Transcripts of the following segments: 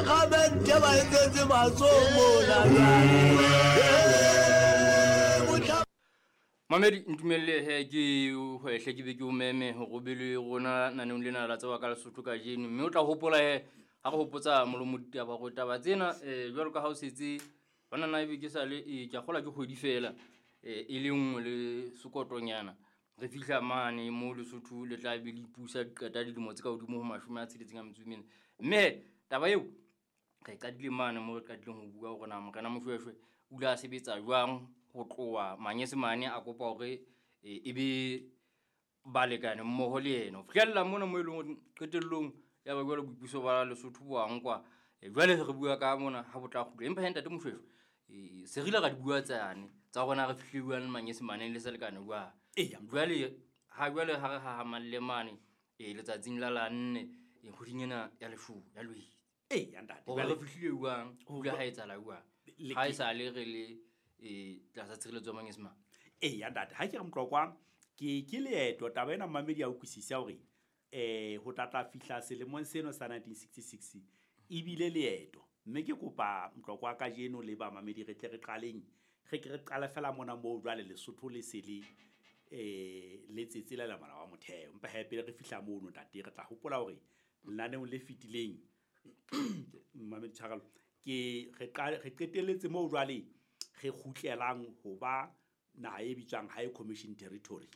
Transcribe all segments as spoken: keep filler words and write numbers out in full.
Gamente ba etsetse matsoho mona. Mamedi, ntumelle he ke hwehle ke be ke o meme hore o be le rona naneong lena la Tseba ka Lesotho kajeno. Mme o tla hopola he ha re hopotsa molomo ditaba hore taba tsena um jwalo ka ha o setse hona na ebe ke sale e ke a kgolwa ke kgwedi fela eh, e le nngwe le sekotonyana re fihla mane mo Lesotho le tla be le ipusa qeta dilemo tse ka hodimo ho mashome a tsheletseng a metso e mene. Mme he taba eo re qadile mane mo re qadileng ho bua hore na Morena Moshweshwe o ile a sebetsa jwang ho tloha Manyesemane a kopa hore e e be balekane mmoho le yena ho fihlella mona mo e leng hore qetellong ya ba jwale boipuso ba Lesotho bo a nkwa. Eh, jwale re bua ka mona ha bo tla kgutla. Empa he ntate Moshweshwe eh, se re ile ra di bua tsane tsa rona re fihlile jwang le Manyesemaneng le selekane jwang. Eya. Jwale ha jwale ha re hahamalle mane eh, letsatsing la la nne eh, kgweding ena ya Leshome ya Lwetse. Eya ntate. Hore Jwale re fihlile jwang, ho ile ha etsahala jwang. Le Ha ke- e sale re le eh, tlasa tshireletso ya Manyesemane. Eya ntate, ha ke re Motlokwa ke ke leeto taba ena mmamedi a utlwisisa hore eh ho tla tla fihla selemong seno sa nineteen sixty-six ebile leeto. Mme ke kopa Motlokwa kajeno le bamamedi re tle re qaleng, re ke re qale fela mona moo jwale Lesotho le se le eh le tsetse la molao wa motheo. Empa he pele re fihla mono ntate, re tla hopola hore lenaneong le fetileng mmamedi tshwarelo, ke re qale re qetelletse moo jwale re kgutlelang ho ba naha e bitswang High Commission Territory,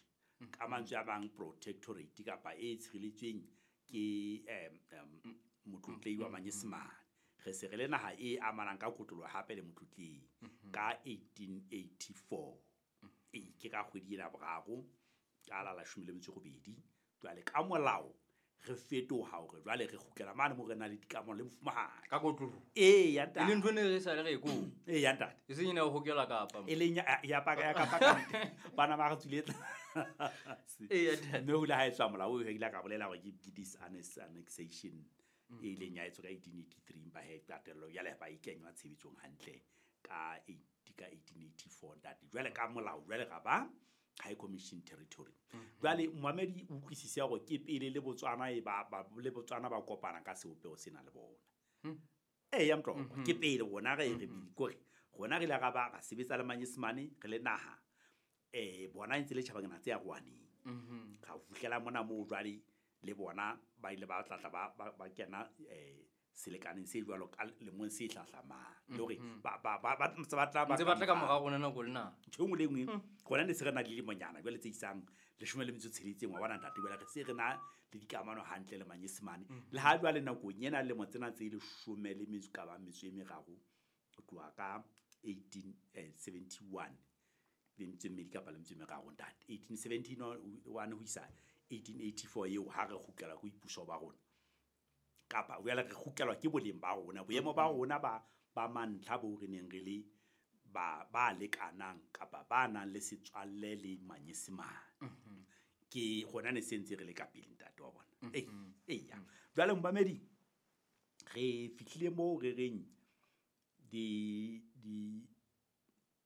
ka mantswe a mang protectorate kapa e tshireletsweng ke em, em, motlotlehi wa Manyesemane. Re se re le naha e amanang ka kotloloho hape le motlotlehi ka eighteen eighty-four. Ee, ke ka kgwedi ena ya boraro ka la leshome le metso e robedi. Jwale ka molao re fetoha hore jwale re kgutlela mane moo re nang le dikamano le mofumahadi. Ka kotloloho. Ee, ya ntate. E leng ntho e ne re sa le re e koo. Ee, ya ntate. E seng ena ho hokela kapa. E leng ya, ya paka, ya kapa ka ntle. Bana ba re tswile tlase. Ee, ya ntate. Mme ho ile ha etswa molao oo, ile ka bolela hore ke, ke disannexation e ileng ya etswa ka eighteen eighty-three, empa he qetello jwale ba e kenywa tshebetsong hantle ka eight, ka eighteen eighty-four ntate. Jwale ka molao jwale ra ba High Commission Territory. Jwale momamedi o utlwisise hore ke pele le Botswana e ba, ba, le Botswana ba kopana ka sebopeho sena le bona. Ee, ya Motlokwa, ke pele rona re re kore rona re ile ra ba ra sebetsa le Manyesemane re le naha. Eh, bona e ntse le tjhabakana tse arohaneng. Ra fihlela mona moo jwale le bona ba ile ba tla tla ba, ba, ba kena, eh, selekaneng se jwalo ka lemong se hlahlamang. Le hore ba, ba, ba, ba ntse ba tla ba Ntse ba tla ka ka mora rona nako le nako. Ntho e nngwe le e nngwe, rona ne se re na le dilemonyana jwale tse isang leshome le metso e tsheletseng, wa bona ntate, jwale re se re na le dikamano hantle le Manyesemane. Le ha jwale nakong ena lemo tsena tse leshome le metso ka bang metso e meraro, ho tloha ka eighteen, eh, seventy-one, le metso e mmedi kapa le metso e meraro ntate. eighteen seventy-one ho isa eighteen eighty-four eo ha re kgutlela ho boipuso ba rona. Kapa jwale re kgutlelwa ke boleng ba rona, boemo ba rona ba, ba mantlha bo re neng re le ba, ba lekanang kapa ba nang le setswalle le Manyesemane. Ke rona ne se ntse re le ka pele ntate wa bona. Ee, eya. Jwale momamedi, re fihlile moo re reng di, di,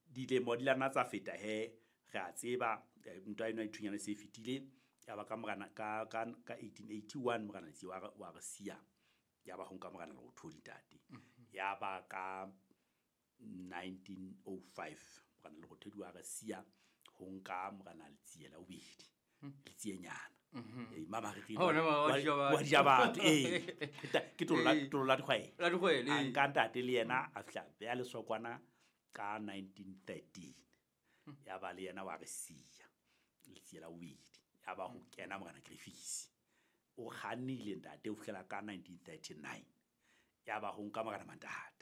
dilemo di la nna tsa feta he, re a tseba, eh, ntwa eno ya dithunyana se e fetile. Ya ba ka morana, ka, ka, ka eighteen eighty-one morena Letsie wa re, wa re siya. Ya ba ho nka morena Lerothodi ntate. Ya ba ka nineteen oh five morena Lerothodi wa re siya ho nka morena Letsie la bobedi. Letsienyana. Ee, mama re re Oh, ne, mama, wa wa di ja batho. wa di ja batho, ee. Ke tolo la, Ee. tolo la dikgwele. La dikgwele, A ee. nka ntate le yena a fihla beha lesokwana ka nineteen thirteen. Ya ba le yena wa re siya. Letsie la bobedi. Ya ba ho kena morena Griffiths. O kgannile ntate ho fihlela ka nineteen thirty-nine. Ya ba ho nka morena Mantata.